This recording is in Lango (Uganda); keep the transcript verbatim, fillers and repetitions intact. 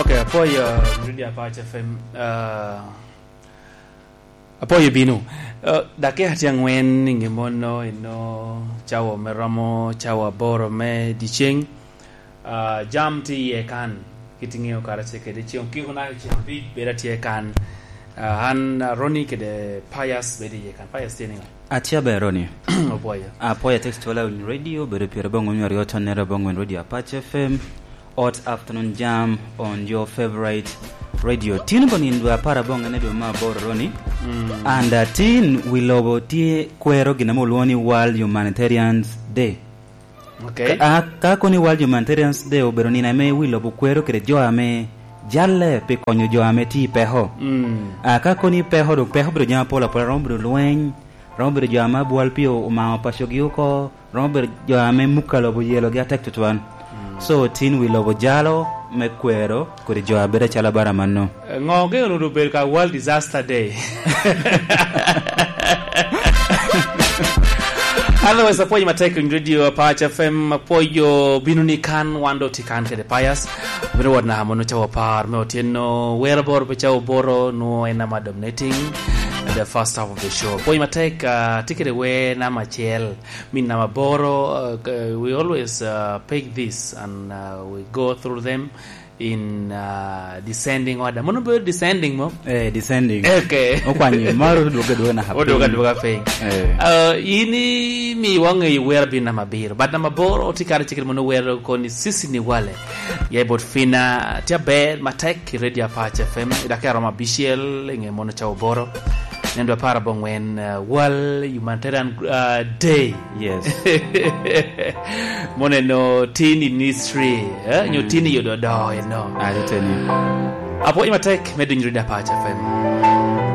Ok, apwoyo, uh, Radio Apac F M, uh, apwoyo bino. Uh, dakika tye angwen i nge mono, ino cawa me romo cawa aboro me dyeceng. Uh, jam tye iye kan, kit iŋeo kara ce kede ceŋ okiko naka ceŋ abic bedo atye kan. Uh, an, uh, Ronnie kede Pius bedo iye kan. Pius tye niŋo? Atye aber, Ronnie. Opwoyo. Apwoyo, text wala on radio, bedo pire abongwen aryo tonnere abongwen Radio Apac F M. Hot afternoon jam on your favorite radio. Tin bo nino dwe apar abongwen dwe me aboro, Ronnie. Mm. And, uh, tin wi lobo tye kwero gin ame olwoŋo ni World Humanitarians Day. Ok. Ka, a, ka koni World Humanitarians Day obedo nino ame wi lobo kwero kede jo ame jalle pi konyo jo ame tye i peko. Mm. A, ka koni peko, dok peko obedo jami apol apol, romo bedo lweny, romo bedo jo ame abwal pii o-, omao pacogi oko, romo bedo jo ame mukka lobo oyelogi atek tutwal. Mm. So, tin wi lobo jalo me kwero kodi jo a bedo acalo abara mano. Ŋo geno onwoŋo obedo ka World Disaster Day? Otherwise, apwoyo matek i Radio Apac F M, apwoyo bino ni kan, wan do tye kan kede Pius. Bino wot naka mono cawa apar me otyeno, wero aboro pe cawa aboro, nwo en ama dominating the first half of the show. Apwoyo matek, ah, tye kede wer namba acel, min namba aboro, ah, k-, we always, ah, pick this and, ah, we go through them in, ah, descending order. Mono bedo descending mo? Eh, descending. Ok. Okwanyo, maro odwogo adwoga naka piny. Odwogo adwoga piny. Eh. Ah, in imiwa ŋeyo wer abino namba abiro. But namba aboro, tye kare cik mono wero koni Sisi Niwale. Ya i bot Fina, tye aber matek i Radio Apac F M, i dakika romo abicel, i ŋe mono cawa aboro. Nen dwe apar abongwen, uh, World Humanitarian, uh, Day. Yes. Mono eno tin in history, eh? Nyo tin i yodo do eno. Ateni. Apwoyo matek me dunyo Radio Apac F M.